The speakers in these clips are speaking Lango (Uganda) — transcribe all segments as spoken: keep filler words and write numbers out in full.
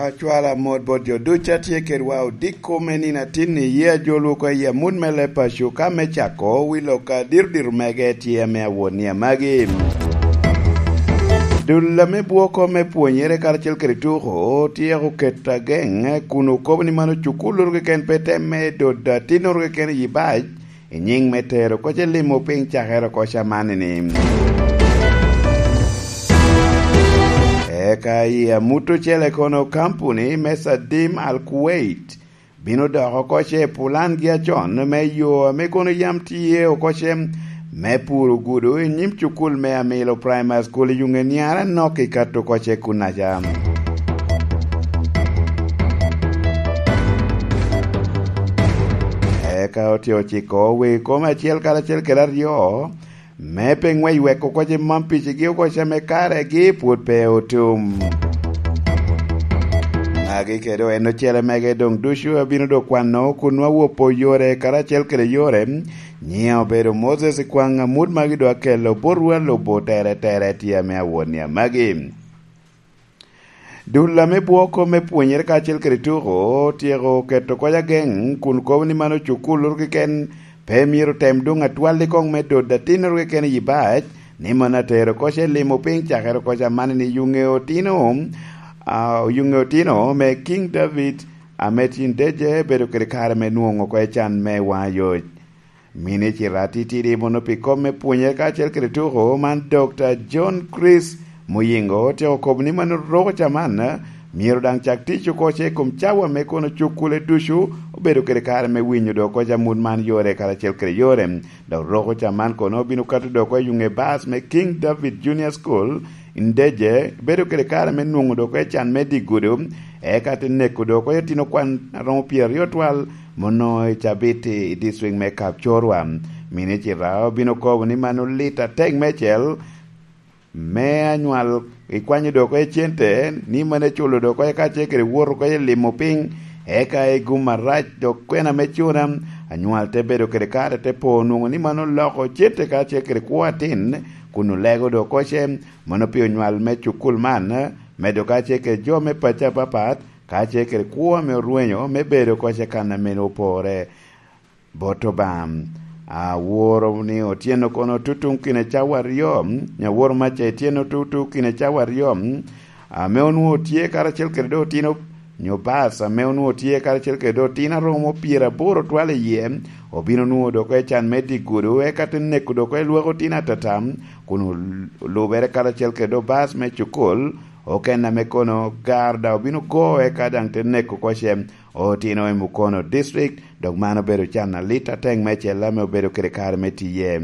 Acwalo amot bot jo ducu a tye kedwa odiko me nino atin-ni, ye ajolwu oko i amut me leb paco ka me cako wi lok a diro diro mege tye ame awot ni amagi. Dul ame bwoko me pwonyere karacel kede tuko otyeko keto ageŋ kun okobo ni mano cukul oro keken pe temme dodo atinnoro keken i bac i nyiŋ me tero koc i limo piny cakere koc amanni-ni. Eka i amut ocele kono kampuni me Sadim Al Kuwait bino doko koc i pulangi acon me yo ame kono yam tye okoce me puro gudo i nyim cukul me Amilo Primary School i Yungeniara nok i kato koce kunaca. Eka otye ociko wi kom acel karacel kede aryo me pe ŋwec weko koce mam picigi okoce me karegi pwod pe otum. Magi kede en ocele mege doŋ ducu abino do kwano kun nwa wopo yore karacel kede yore. Nyiŋe obedo Moses Kwaŋ amut magi do akelo botwa lubo tere tere tye ame awot ni amagi. Dul ame bwoko me pwonyere kacel kede tuko otyeko keto koc ageŋ kun kobo ni mano cukul oro keken pe myero tem doŋ atwal i koŋ me dot atinnoro keken i bac, ni mano atero koc i limo piny cakere koc amanni ni yuŋe otino, a, yuŋe otino me King David ame tin deje bedo kede kare me nwoŋo oko i can me waŋ ayoc. Minicita atitidi mono pi kom me pwonyere kacel kede tuko man, Dokta John Chris Muyingo otyeko kobo ni mano roko ca man myero daŋ cak tic oko ce i kom cawa me kono cukule ducu obedo kede kare me winyo do koc amut man yore karacel kede yore. Dok roko ca man kono obino kato do oko i yuŋe bas me King David Junior School, Ndeje, bedo kede kare me nwoŋo do oko i can me dye gudo, eka te neko do oko i otino kwan aromo pyeraryo twal mono i cabit i dictrik me Kapchorwa. Minicita obino kobo ni mano lit atek meicel me anywal ikwanyo do oko i cente, ni mano iculo do oko eka ce kede wot oko i limo piny, eka i gum arac dok kwena me cuna, anywal te bedo kede kare te po nwoŋo ni mano loko cente ka ce kede kwo atin, kun olego do oko ce, mano pi onywal me cukul man, medo ka ce kede jo me paco apapat, ka ce kede kwo ame orwenyo me bedo oko ce kan ame opore. Bot Obaŋa. Aworo ni otyeno kono tutuŋ kine cawa aryo, mm, aworo maca ityeno tutu kine cawa aryo, mm, ame onwoŋo tye karacel kede do otino, nyo bas ame onwoŋo tye karacel kede do otino aromo pyeraboro twal iye, obino nwoŋo doko i can me dye gudo, eka te neko doko i lwak otino atata, kun ol-, olubere karacel kede do bas me cukul, oken ame kono gar daŋ obino go, eka daŋ te neko oko ce otino i Mukono District, dok man obedo can alit atek meicel ame obedo kede kare me tiye.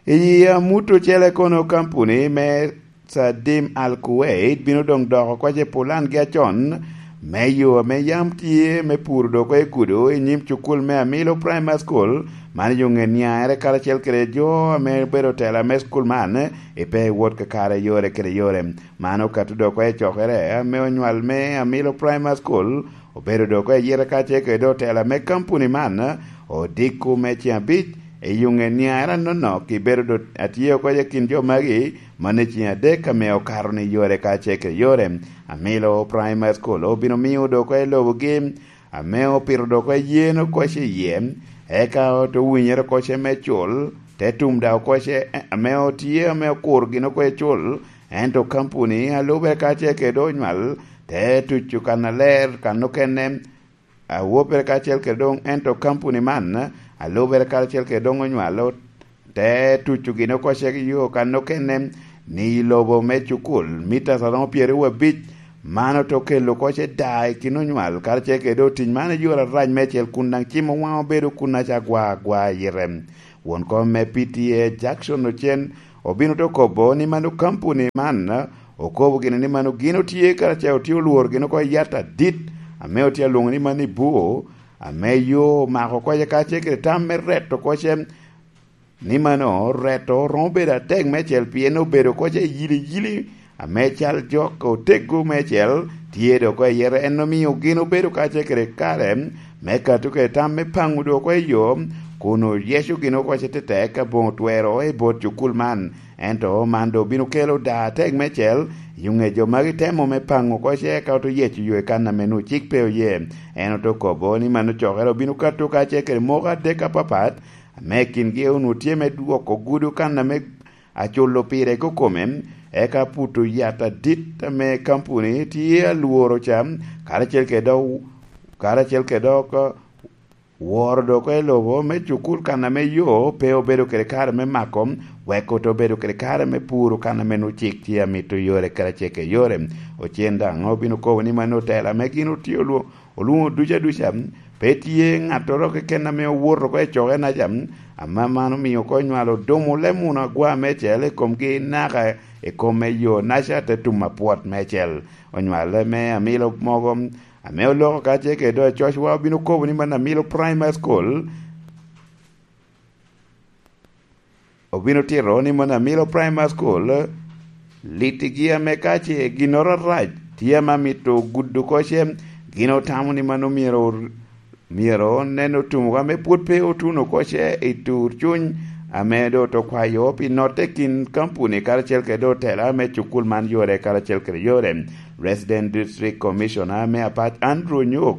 I amut ocele kono kampuni me Sadim Al Kuwait bino doŋ doko oko ce pulangi acon me yo ame yam tye me puro do oko i gudo i nyim cukul me Amilo Primary School, man yo ŋe niaŋere karacel kede jo ame obedo tela me cukul man, i pe wot kakare yore kede yore. Man okato do oko i cokere ame onywal me Amilo Primary School, obedo do oko i yite ka ce kede otela me kampuni man, odiko me ceŋ abic i yuŋe niaŋere anonok, ibedo do atye oko i kin jo magi, man i ceŋ adek ame okato ni yore ka ce kede yore. Amilo Primary School obino miyo do oko i lobogi, ame opito do oko i yen oko ce iye, eka ote winyere oko ce me cul, te tum daŋ oko ce, ame otye ame okuro gin oko i cul, ento kampuni a lube ka ce kede onywal, te tuco kan aler, kan okene, a wopere kacel kede doŋ, ento kampuni man, a lubere karacel kede doŋ onywalo, te tuco gin oko ce yo kan okene, ni i lobo me cukul, mita aromo pyeraryo abic, man ote okelo oko ce daa i kin onywal, karacel kede doŋ tic man i yore arac meicel, kun daŋ cimo waŋ obedo kun aca agwa agwa i yite. Won kom me P T A Jackson Ocen obino te okobo ni mano kampuni man okobo gini ni mano gin otye karacel otye olworo gin oko i yat adit ame otye alwoŋo ni mano i bwo, ame yo omako oko ce ka ce kede tam me reto oko ce, ni mano reto romo bedo atek meicel pien obedo oko ce yili yili ame cal jok oteggo meicel tye do oko i yete. En omio gin obedo ka ce kede kare me kato kede tam me paŋo do oko i yo, kun oyeco gin oko ce tetek aboŋo twero i bot cukul man. Ento man doŋ obino kelo daa atek meicel Yo ŋe jo magi temo me paŋo oko ce eka oto yeco yo i kan ame nwoŋo cik pe oye. En oto kobo ni mano cokere obino kato kacel kede moko adek apapat, ame kingi onwoŋo tye me dwoko gudo kan ame aculo pire kokome, eka puto yat adit ame kampuni tye alworo ca, karacel kede dok, karacel kede dok woro dok i lobo me cukul kan ame yo pe obedo kede kare me mako, wek ote obedo kede kare me puro kan ame nwoŋo cik tye amito yore karacel kede yore. Ocen daŋ obino kobo ni mano otela ame gin otye olwo-, olwoŋo duca duca, pe tye ŋattoro keken ame owoto oko i coke naca, ame man omio oko onywalo dumo leb muno agwa mecel i komgi naka i kom me yo naca te tum apwot mecel. Onywale me amilo mogo ame oloko kacel kede dog i cocwa obino kobo ni man amilo Primary School, obino tito ni man amilo Primary School, litigi ame ka ce ginnoro arac tye ame amito gudo oko ce, gin otamo ni mano myero, myero onen otumogo ame pwod pe otuno oko ce i tur cuny ame doŋ oto kwayo pi notte kin kampuni karacel kede otela ame cukul man yore karacel kede yore. Resident District Commissioner me Apac Andrew Nyok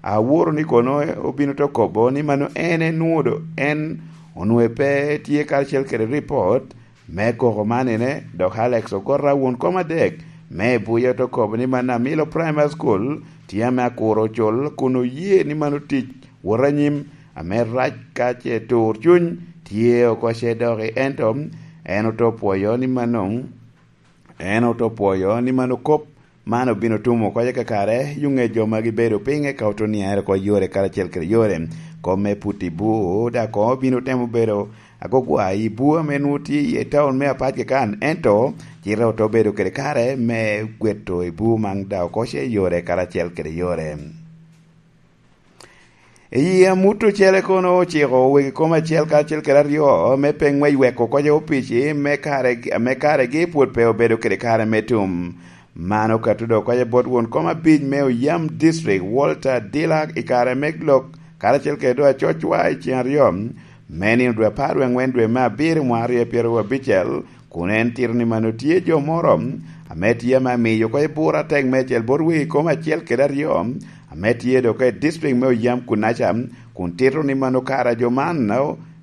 aworo ni kono obino to kobo ni mano en enwodo, en onwoŋo pe tye karacel kede ripot me koko man ene, dok Alex Ogota won kom adek me Buya to kobo ni man Amilo Primary School tye ame akuro ocol kun oye ni mano tic wot anyim ame rac ka ce tur cuny tye oko ce doki, ento en oto pwoyo ni mano, en oto pwoyo ni mano kop man obino tumo oko kakare, yo ŋe jo ma gibedo piny eka oto niaere oko yore karacel kede yore. Kom me puto i bur, dok koŋ obino temo bedo agogwa i bur ame nwoŋo tye i taun me Apac Kekan, ento cite oto bedo kede kare me gweto i bur man dok oko ce yore karacel kede yore. I amut ocele kono ociko wegi kom acel karacel kede aryo me pe ŋwec weko oko opici me kare, me karegi pwod pe obedo kede kare me tum. Man okato dok oko bot won kom abic me Oyam District, Walter Dila, i kare me lok karacel kede dok acocwa i ceng aryo me nino dwe apar wie aŋwen dwe me abiro mwaka aryo pyeraryo abicel, kun en tito ni mano tye jo moro ame tye ame amiyo oko bur atek meicel bot wegi kom acel kede aryo ame tye dok i district me Oyam kunaca, kun tito ni mano kara jo man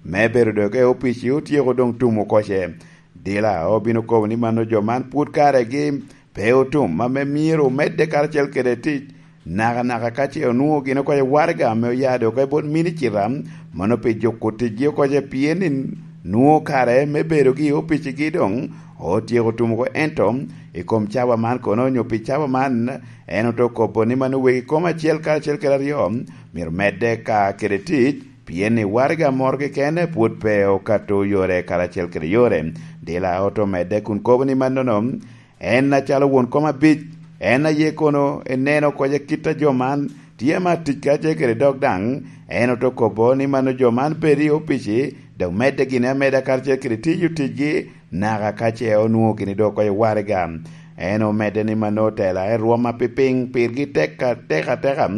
me bedo dok i opici otyeko doŋ tum oko ce. Dila obino kobo ni mano jo man pwod karegi pe otum, ame myero omedde karacel kede tic, nakanaka ka ce onwoŋo gin oko i waraga ame oya dok oko i bot minicita, mano pi juko ticgi oko ce, pien ni nwoŋo kare me bedogi i opicigi doŋ otyeko tum oko, ento i kom cawa man kono onyo pi cawa man, en oto kobo ni mano wegi kom acel karacel kede aryo myero medde ka kede tic, pien ni waraga moro keken pwod pe okato yore karacel kede yore. Dila oto medde kun kobo ni mannono, en acalo won kom abic, en aye kono eneno oko ce kit a jo man tye ma tic kacel kede dok daŋ, en oto kobo ni mano jo man bedo i opici, dok medde gini ameda karacel kede tiyo ticgi, naka ka ce onwoŋo gini dok oko i waraga. En omedde ni mano otela i rwom a pipiny pirgi tek atek ateka,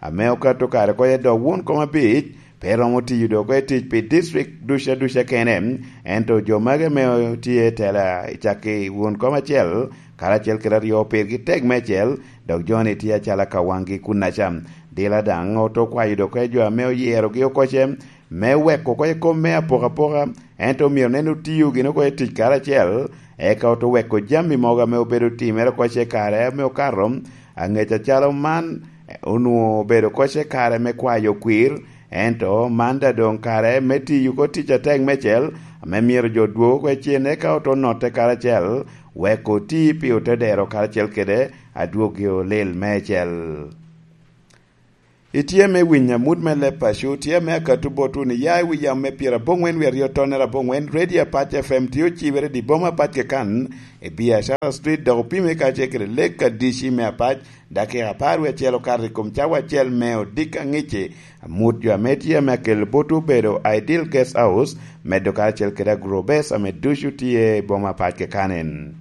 ame okato kare oko i dok won kom abic, pe romo tiyo dok oko i tic pi district duca duca kene, ento jo magi ame tye i tela i cakki won kom acel, karacel kede aryo pirgi tek meicel, dok joni tye acalo ka waŋgi kunaca. Dila daŋ oto kwayo dok oko i jo ame oyerogi oko ce, me weko oko i kom me apokapoka, ento myero nen otiyo gin oko i tic karacel, eka oto weko jami mogo ame obedo timere oko ce kare ame okato, aŋec acalo man, onwoŋo obedo oko ce kare me kwayo kwir, ento man daŋ doŋ kare me tiyo oko tic atek meicel, ame myero jo dwog oko i cen, eka oto notte karacel, wek oti pi ote dero karacel kede adwoggi olil meicel. Itye me winyo amut me leb paco, tye me akato botwu ni ya i wi yam me pyeraboŋwen wie aryo tonnere aboŋwen, Radio Apac F M tye ocibere i boma Apac Kekan, i Biashara Street, dok opime kacel kede Lake Kadici me Apac, dakika apar wie acel okato i kom cawa acel me odiko aŋic-ci. Amut jo ame tye ame akelo botwu obedo Ideal Guest House, medo karacel kede Agrobase ame ducu tye i boma Apac Kekan en.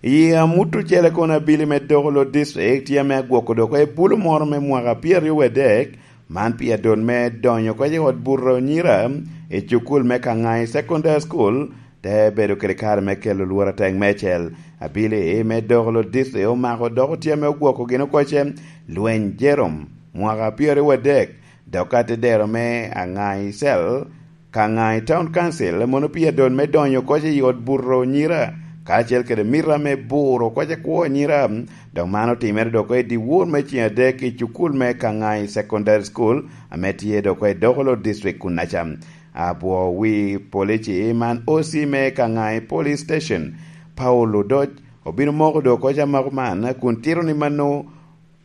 I amut ocele kono abili me doko lo district tye ame agwoko dok i bulu moro me mwaka pyeraryo wadek, man pi adot me donyo oko i ot buto nyira i cukul me Kangai Secondary School, te bedo kede kare me kelo lworo atek meicel. Abili me doko lo district omako dok otye ame ogwoko gin oko ce lweny Jerome mwaka pyeraryo wadek, dok ka te dero me Aŋai Cell ka Aŋai Town Council mono pi adon me donyo oko ce i ot buto nyira, kacel kede mita me buro oko ce kwo nyira, dok man otimere dok oko i dyewor me ceng adek i cukul me Kaŋai Secondary School ame tye dok oko i Dokolo District kunnaca. Abwo wi polici man O C me Kaŋai Police Station, Paul Odoc, obino moko dok oko ce amako man kun tito ni mano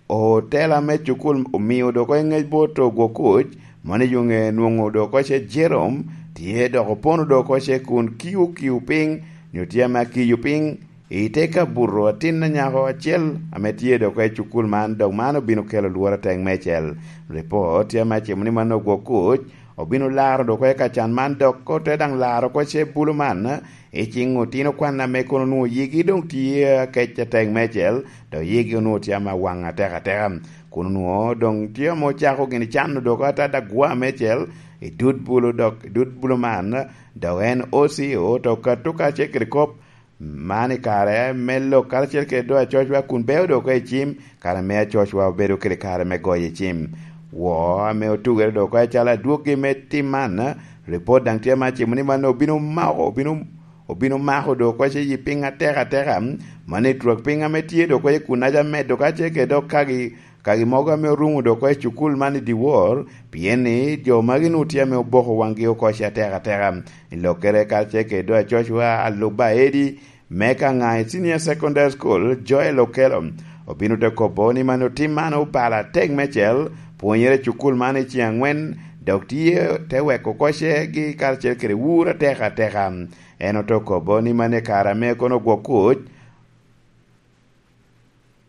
otela me cukul omio dok oko i ŋec bot ogwo kuc, mano i yuŋe nwoŋo dok oko ce Jerome tye dok opono dok oko ce kun kiu kiu piny, nyo tye ame akiyo piny i te kabuto atin anyako acel ame tye dok oko i cukul man, dok man obino kelo lworo atek meicel. Ripot tye ame acimo ni mano ogwo kuc obino laro dok oko i kacan man, dok ote daŋ laro oko ce bulu man i ciŋ otino kwan ame kono onwoŋo yigi doŋ tye akec atek meicel, dok yigi onwoŋo tye ame awaŋ atek ateka, kun onwoŋo doŋ tye ame ocako gini cano dok ata dagwa meicel i dud bulu, dok i dud bulu man, dok en O C oto kato kacel kede kop man i kare me lok karacel kede do acocwa kun beo dok oko i cim, kare me acocwa obedo kede kare me goyo i cim. Wo ame otugere dok oko acalo adwoggi me tim man, ripot daŋ tye ame acimo ni man obino mako, obino, obino mako dok oko ce yi piny atek ateka, man i twak piny ame tye dok oko i kunnaca medo kacel kede dok kagi, kagi mogo ame orumo dok oko i cukul man i dyewor, pien ni jo magi nu tye ame oboko waŋgi oko ce atek ateka. I lokkere kacel kede do acocwa alub aedi me Kaŋai Senior Secondary School, Joel Okello, obino te kobo ni man otim man obalo atek meicel, pwonyere i cukul man i ceng aŋwen, dok tye te weko oko ce gi karacel kede wur atek ateka. En ote kobo ni man i kare ame kono ogwo kuc,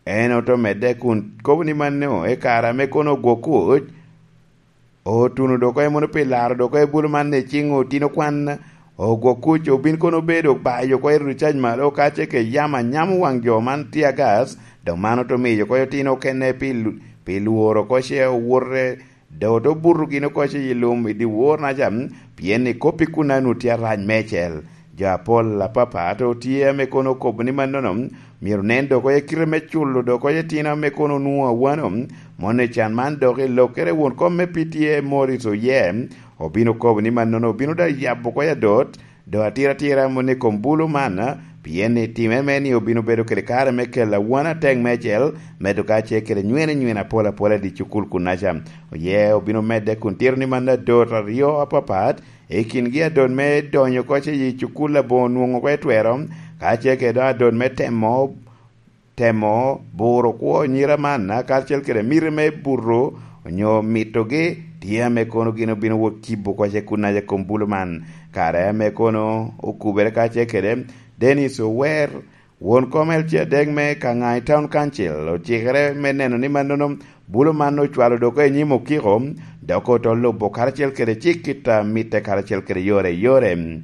en ote medde kun kobo ni mano i kare ame kono ogwo kuc, otuno dok oko mono pi laro dok oko i bulu man i ciŋ otino kwan, ogwo kuc obin kono obedo bayo oko i rucac malo, ka ce ke yam anyamo waŋ jo man tye agas, dok man ote miyo oko otino okene pi lu-, pi lworo oko ce owote, dok ote buto gin oko ce i lum i dyewor naca, pien i kop i kunna nu tye arac meicel. Jo apol apapat otye ame kono okobo ni mannono, myero nen dok oko i kite me culo dok oko i tino ame kono onwoŋo awano, mono i can man dok i lokkere won kom me P T A Morris Oye, obino kobo ni mannono obino daŋ yabo oko i adot, dok atira atira mono i kom bulu man, pien ni time me ni obino bedo kede kare me kelo awan atek meicel, medo ka ce kede nywene nywene apol apol i dye cukul kunnaca. Oye obino medde kun tito ni man adot aryo apapat, i kingi adot me donyo oko ce i cukul aboŋo nwoŋo oko etwero, ka ce kede adot me temo, temo buro kwo nyira man, karacel kede miti me buto onyo mitogi, tye ame kono gin obino wot kibo oko ce kunnaca i kom bulu man. Kare ame kono okubere ka ce kede Dennis Ower, won kom L C adek me Kaŋai Town Council ocikere me neno ni mannono bulu man ocwalo dok oko i nyim okiko, dok oto lubo karacel kede cik kit a mitte karacel kede yore yore.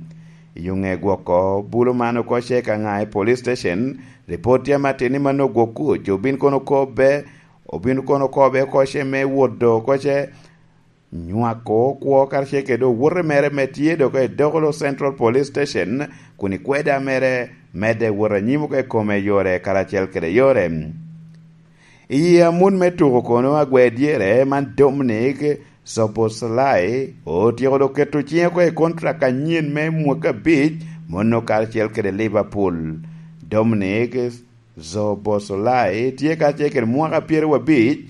I ŋe gwoko bulu man oko ce Kaŋai Police Station, ripot tye ame atir ni mano ogwok kuc, obin kono kobbe, obin kono kobbe oko ce me wot do oko ce nywako kwo karacel kede owote mere me tye dok i Dokolo Central Police Station, kun i kweda mere medde wot anyim oko i kome yore karacel kede yore. I amut me tuko kono agwe dyere man Dominic Soboslai otyeko dok keto ciŋe oko i kontrak anyen me mwaka abic, mono karacel kede Liverpool. Dominic Soboslai tye karacel kede mwaka pyeraryo abic,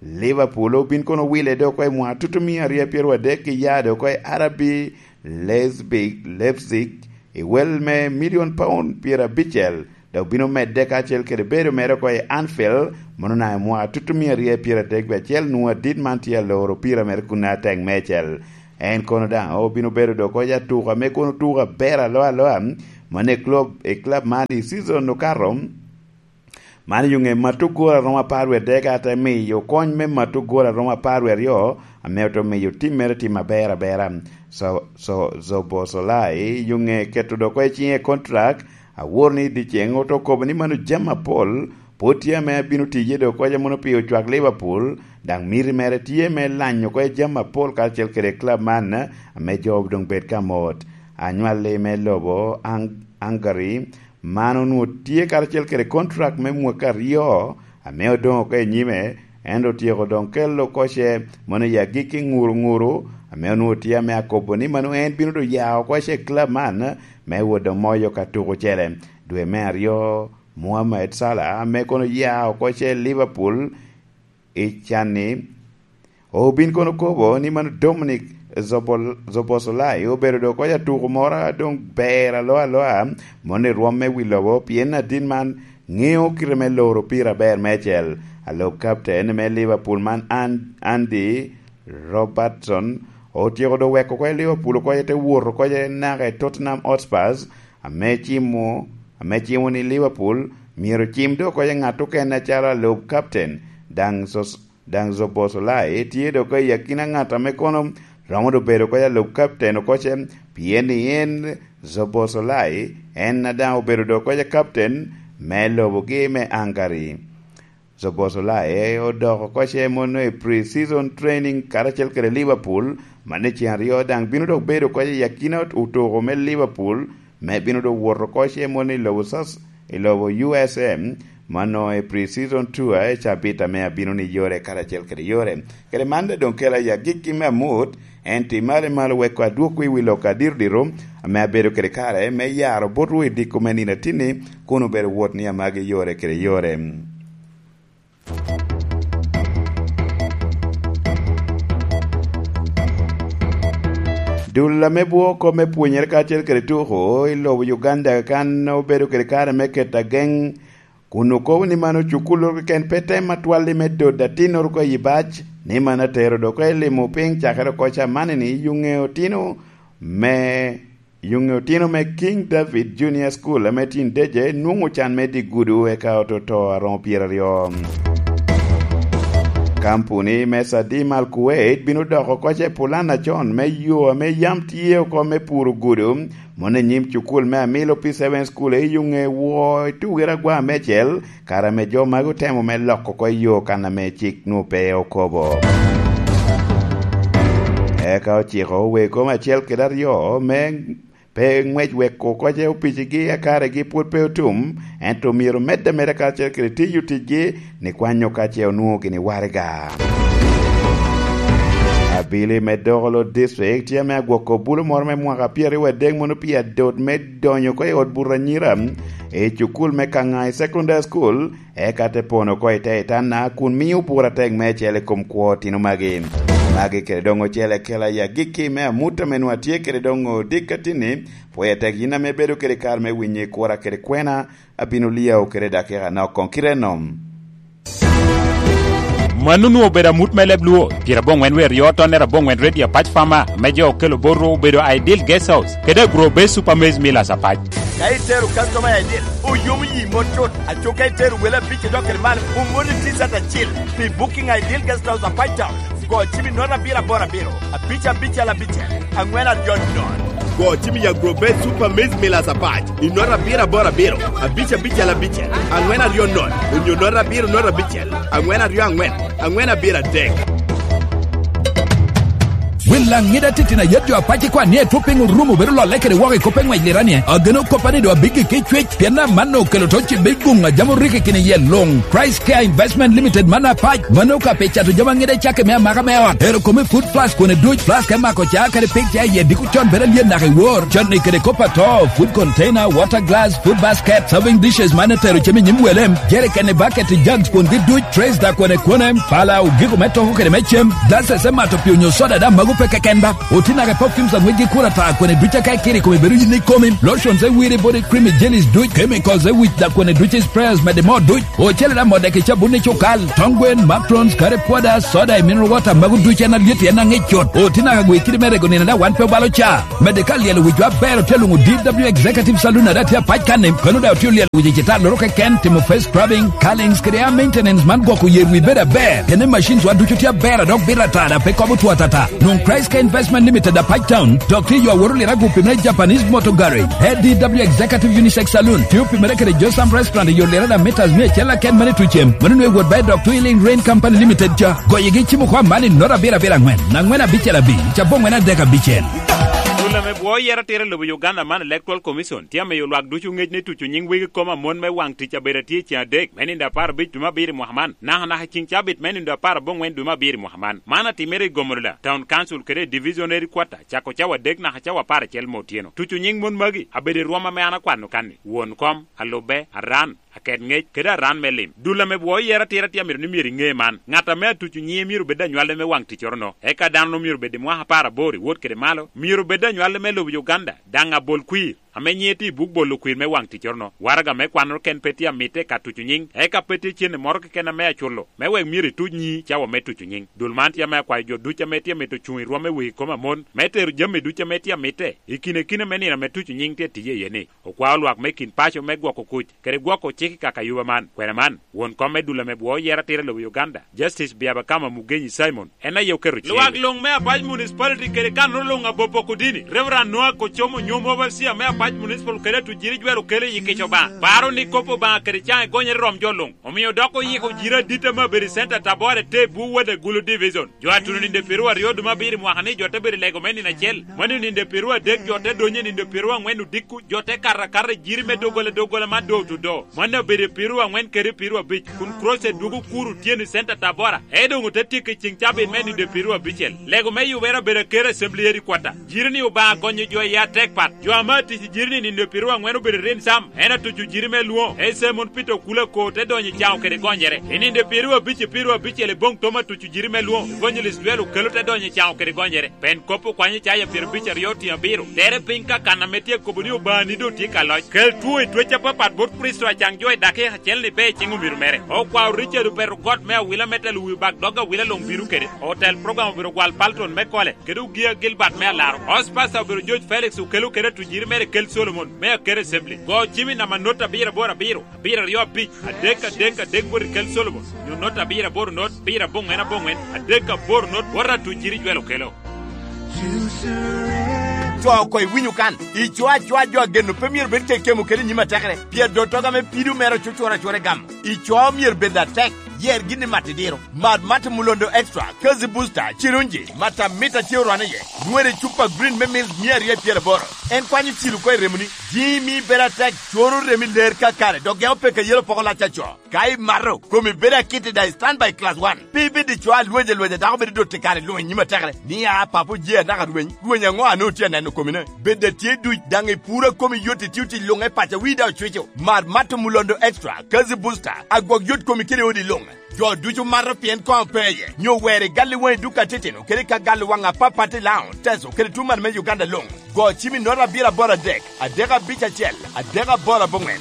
Liverpool obin kono wile dok oko i mwaka tutumia aryo pyeraryo adek ki ya dok oko i R B Leipzig, Leipzig, i wel me milion paun pyerabicel, dok bino medde kacel kede bedo mere oko i Anfield, mono na i mwaka tutumia aryo pyerabicel nwoŋo adit man tye aloro pira mere kun atek meicel. En kono daŋ obino bedo dok oko i atuka me kono tuka ber aloa aloa, mano i club, i club man i season okato. Man i ŋe mato gol aromo apar wie dek, ate miyo kony me mato gol aromo apar wie aryo, ame oto miyo tim mere tim aber abera. So, so, Zobosolai i ŋe keto dok oko i ciŋe kontrak, awor ni i dyeceŋ oto kobo ni mano jami apol, pwod tye ame abino tiye dok oko mono pi ocwak Liverpool, daŋ miti mere tye me lanyo oko i jami apol karacel kede club man, ame jo doŋ bed ka mot. anywalli me lobo Ang-, Hungary, man onwoŋo tye karacel kede kontrak me mwakki aryo ame odoŋ oko i nyime, ento otyeko doŋ kelo oko ce mono i agikki ŋuruŋuru, ame onwoŋo tye ame akobo ni mano en bino doŋ ya oko ce i club man me wot doŋ moyo ka tuko ocele. Dwe me aryo, Mohamed Salah ame kono ya oko ce i Liverpool i can-ni, obin kono kobo ni mano Dominic Zobol-, Zoboszlai obedo doŋ koc atuko moro a doŋ ber aloa aloa, mono i rwom me wi lobo, pien adit man ŋeo kite me loro pira aber meicel. Alub kapten me Liverpool man, An-, Andy Robertson, otyeko doŋ weko oko i Liverpool oko, te wot oko naka i Tottenham Hotspurs, ame cimo, ame cimo ni Liverpool myero cim doŋ oko i ŋat okene acalo alub kapten, daŋ Sos-, daŋ Zoboszlai tye doŋ oko i akina ŋat ame kono romo doŋ bedo oko i alub kapten oko ce, pien ni en Zoboszlai en a daŋ obedo doŋ oko i kapten me lobogi me Hungary. Zoboszlai odoko oko ce mono i pre-season training karacel kede Liverpool, man i cen aryo daŋ bino dok bedo oko i akina otuko me Liverpool, me bino dok wot oko ce mono i lobo Sas-, i lobo U S M, mano i pre-season tour i cabit ame abino ni yore karacel kede yore. Kede man daŋ doŋ kela i agikki me amut, en ti malo i malo wek adwogwu i wi lok adirodiro ame abedo kede kare me yaro botwu i diko me nino atinni, kun obedo wot ni amagi yore kede yore. Dul ame bwoko me pwonyere kacel kede tuko i lobo Uganda kan obedo kede kare me keto ageŋ, kun okobo ni mano cukulloro keken pe tem atwalli me dodo atinnoro oko i bac, ni mano atero dok i limo piny cakere oko camanini i ŋe otino me Yuŋe otino me King David Junior School ame tye i Ndejje nwoŋo can me dye gudo eka oto to aromo pyeraryo. Kampuni me Sadim Al Kuwait bino doko oko ce pulan acon me yo ame yam tye oko me puro gudo, mono i nyim cukul me Amilo P seven School i Yuŋe woo i tugere agwa mecel, kare ame jo magi otemo me loko oko i yo kan ame cik nwoŋo pe okobo. Eka ociko wego me acel kede aryo me pe ŋwec wek oko ce opicigi a karegi pwod pe otum, ento myero omedde ameda karacel kede tiyo ticgi ni kwanyo ka ce onwoŋo gini waraga. Abili me Dogolo District tye ame agwoko bulo moro me mwaka pyeraryo adek mono pi adot me donyo oko i ot buto anyira i cukul me Kangai Secondary School, eka te pono oko i te itanda kun mio bura tek meicel i kom kwo otino magi. Magi kede doŋ ocele kela i agikki me amut ame nwa tye kede doŋ odikka tinni, pwoya tek yin ame bedo kede kare me winyo i kura kede kwena, abino liao kede dakika nok koŋ kite enom. Mano onwoŋo obedo amut me leb Luo, pyeraboŋwen wie aryo tonnere aboŋwen Radio Apac Farmer, me jo okelo bot ru obedo Ideal Guest House, kede Agro Base Super Maize Millers Apac. Ka itero customer I D, oyomo yi mot cut. Aco ka itero wele abic i dok kede man, omoni T-shirt acil pi Booking Ideal Guest House Apac Town. Go cim i note abiro aboro abiro, abic abicel abicel, angwen aryo nono. Go cim i Agro Base Super Maize Millers Apac i note abiro aboro abiro, abic abicel abicel, angwen aryo nono, onyo note abiro note abicel, angwen aryo angwen, angwen abiro adek. Wel Laŋida titino ayet jo apac ikwan ni etwo piny orumo bedo lolle kede woko i kop eŋwec liranie. Ageno koppa ni doŋ abiggi ki cwec, pien amanno okelo to cibbe i guŋ a jam orikki kine iye luŋ. Christ Care Investment Limited man apac, mano ka pe cato jami aŋida i cakke me amaka me ot. Ero kome food flask kone duc, flask me mako ca kede pik ca iye diko con bedo alyet naka i wor. Con ni kede kop ato, food container, water glass, food basket, serving dishes man etero cem i nyim wele, jerikeni, baketi, jugs kwongi duc, trays da kwene kwene, pala, ogiko me toko kede me cem, glasses me mato pi onyo soda da mago pe keken ba. Otinaga perfumes aŋwec gi kura ta kwene duc aka ikiri kome bedo yin ikomi, lotions e wiri body cream i jellies duc, chemicals e wic da kwene duc i sprayers mede mo duc, ocele da mo dek i cabun i cukal, tong gwen, macarons, curry powder, soda i mineral water mago duc en alyet en aŋic cut. Otinaga gwe kidi me rego nino da wan pe obalo ca. Mede ka lyelo wicwa aber otye luŋo D W Executive Saloon ada tye apac kan-ni, kono daŋ otye olyelo wic i citalloro keken, timo face scrubbing, curlings kede hair maintenance man gwoko yer wi bedo aber. Kene machines wa ducu tye aber a dok bito ata da pe kobo two atata. Nwoŋ Christ Care Investment Limited apac town, dok tye yo aworo lira gupi me Japanese Motor Garage. A D W Executive Unisex Saloon, tye opimere kede Josam Restaurant i yo lira da meters mia acel aken mane tucem. Mano nwe wot ba i dok Twilling Rain Company Limited ca. Goyigi cimo kwa man i nota abiro abiro angwen, angwen abicel abic, cabo angwen adek abicel. Ame bwoo yero atira i lobo Uganda man, Electoral Commission tye amiyo lwak ducu ŋec ni tuco nyiŋ wegi koma mon me waŋ tic abedo atye i ceŋ adek me nindo apar abic dwe me abiro i mwaka man, nakanaka i ceŋ cabit me nindo apar aboŋwen dwe me abiro i mwaka man. Man atimere i Gomolola Town Council kede i Division Headquarter, cako cawa adek naka cawa apar acel me otyeno. Tuco nyiŋ mon magi abedo i rwom ame an akwano kan-ni: won kom, alubbe, aran, aket ŋec, kede aran me lim. Dul ame bwoo yero atira tye amito ni myero iŋe man: ŋat ame atuco nyiŋe myero bed anywalli me waŋ ticcoro-no. Eka dano-nu myero bed i mwaka apar aboro i wot kede malo, myero bed anywalli me lobo Uganda, daŋ abol kwir, ame nyiŋe tye i buk bolo kwir me waŋ ticcoro-no. Waraga me kwannoro ken pe tye amitte ka tuco nyiŋ, eka pe tye cente moro keken ame aculo, me wek myero ituc nyiŋi cawa me tuco nyiŋ. Dul man tye ame akwayo jo ducu ame tye amito cuŋ i rwom me wegi koma mon, me tero jami ducu ame tye amitte i kine kine me nino ame tuco nyiŋ tye tiye iye-ni. Okwao lwak me kin paco me gwoko kuc kede gwoko cik i kaka yuba man. Kwena man, won kom me dul ame bwoo yero atira i lobo Uganda, Justice Byabakama Mugenyi Simon, en aye oketo cik. Lwak luŋ me Apac Municipality kede kanoro luŋ abopo kudini, Reverend Noah Kocomo, nyom overseer me Apac Municipal kede atuc jiri jwero kelo i kica Obaŋa, paro ni kop Obaŋa kede caŋe gonyere rom jo luŋ, omio dok oyiko jiri adit ame abedo i center Tabora te bu Wede Gulu Division. Jo a tuno ninde piero aryo dwe me abiro i mwaka ni, jo te bedo i lego me nino acel. Mano ninde piero adek, jo te donyo i ninde piero aŋwen odiko, jo te kato akata i jiri me doggola, doggola man door to door. Mano obedo i piero aŋwen kede piero abic, kun crusade dwogo kuro otyeno i center Tabora, e doŋ ote tyeko i ceŋ cabit me ninde piero abicel. Lego me yubere obedo akero Assembly Headquarter. Jiri ni Obaŋa gonyo jo i atek pat. Jo ame atic i jiri ni ninde piero aŋwen obedo i rin sam, en atuco jiri me lwoŋo, e Simon Peter Okula ko te donyo i caŋo kede gonyere. I ninde piero abic i piero abicel i boŋ tom atuco jiri me lwoŋo, Evangelist Dwel Okelo te donyo i caŋo kede gonyere. Pen kop okwanyo Icaya pyerabic aryo otiŋ abiro, tere piny ka kan ame tye akobo ni Obaŋani doŋ tye ka loc. Kel two i twec apapat bot Kricito acaŋ jo i dakika acel ni be i ciŋ omiro mere. Okwao Richard Opeto Got me awila me telo wi bak dog awila luŋ bino kede. Otel program obiro gwal Palton me Kole, kede Ogia Gilbert me Alaro. House Pastor obiro George Felix Okelo kede atujiri mere Kel Solomon me Akero Assembly. Go cim i namba not abiro aboro abiro, abiro aryo abic, adek adek adek bot i Kel Solomon, nyo not abiro aboro not, abiro aboŋwen aboŋwen, adek aboro not, bot atujiri Jwel Okelo. Co oko iwinyo kan, ico acoa jo ageno pe myero bed kekemo kede i nyim atekere, pien dottoga me pido mere ocucura acura i gamo. Ico myero bed atek, yer gin i mat idiro. Mat Mat Mulondo Extra, Kazi Booster, Cirunji, mat amit a tye orwane iye, nwoŋere i cupa green me mils mia aryo i pyeraboro. En kwanyo cil oko i remoni, jiŋi mio ibedo atek, coro remi ler kakare, dok geko peke yelo poko lac aco. Ka imato, komi bedo akit i daŋ i Standby Class One. Pe ibed i co a lweja lweja dako bedo dot i kare luŋ i nyim atekere, ni a papo je anaka rweny, rweny aŋo a nwoŋo tye aneno komine? Bed a tye duc, daŋ i puro a komi yot i tio tic luŋ i paco, wii daŋ ocwico. Mar Mato Mulondo Extra, Kazi Booster, agwok yot komi kede odi luŋ. Jo ducu mato pien koŋ pe iye, nyo wer i gal i waŋi duka titino, kede ka gal i waŋ apapat i Laŋo, Teso, kede tuŋ man me Uganda luŋ. Go cim i nota abiro aboro adek, adek abic acel, adek aboro aboŋwen.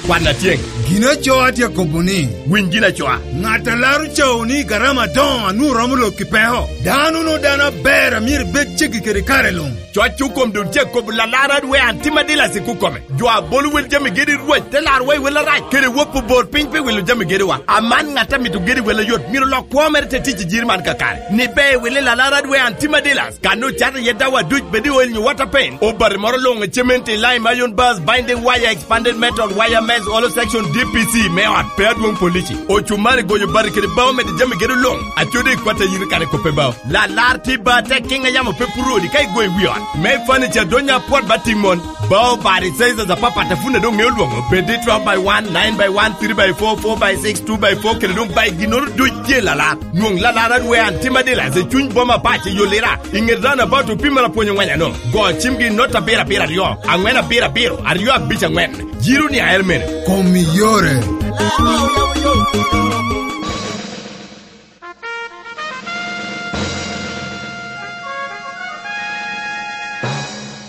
Kwan atyeŋ. Gin acoa tye akobo ni, winy gin acoa. Ŋat a laro cawo ni garama adoŋo a nwoŋo romo lok i peko. Dano no dano aber a myero ibed ceggi kede kare luŋ. Coc okom doŋ tye akobo lalar adwe an tim adila sik okome. Jo a bolo wel jami gedi Rwec te laro wa i wel arac, kede wop obor piny pi wilo jami gediwa. Aman ŋat a mito gedi wel ayot myero lok kwo mere te tic i jiri man kakare. Ni be i wili lalar adwe an tim adila. Kan ocato iye dawa duc, bed i oil nyo water paint. Obati moro luŋ i cement, lime, iron bars, binding wire, expanded metal, wire mesh, hollow section, D P C me ot, pe adwoŋ polici. Ocumari, goyo bati kede bao mede jami gedo luŋ. Acodi i kwat a yiri kare kope bao. Lalar tye ba tek kiŋ a yamo pe puro odi ka igoyo i wi ot. Me furniture donya apwot ba timon. Bao bati sizes apapat a pwod doŋ ŋeo lwoŋo. Bed i twelve by one, nine by one, three by four, four by six, two by four, kede doŋ by ginnoro duc tye lalar. Nwoŋ lalar adwe an tim adila i cuny boma Apac i Yolira, i ŋet roundabout opimere apwony oŋweny ano. Go cimgi i not abiro abiro aryo, aŋwen abiro abiro, aryo abic aŋwen. Jiro ni aer mene. Kom i yore.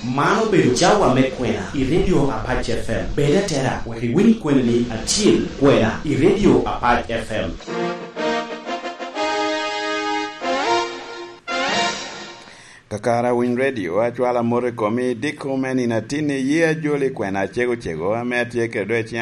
Man obedo cawa me kwena i Radio Apac F M. Bed atera wek iwiny kweni ni atyel kwena i Radio Apac F M. Kakare awiny redio, acwalo amot i komi, diko me nino atinni, ye ajoli kwena acego cego, ame atye kede do i ciŋ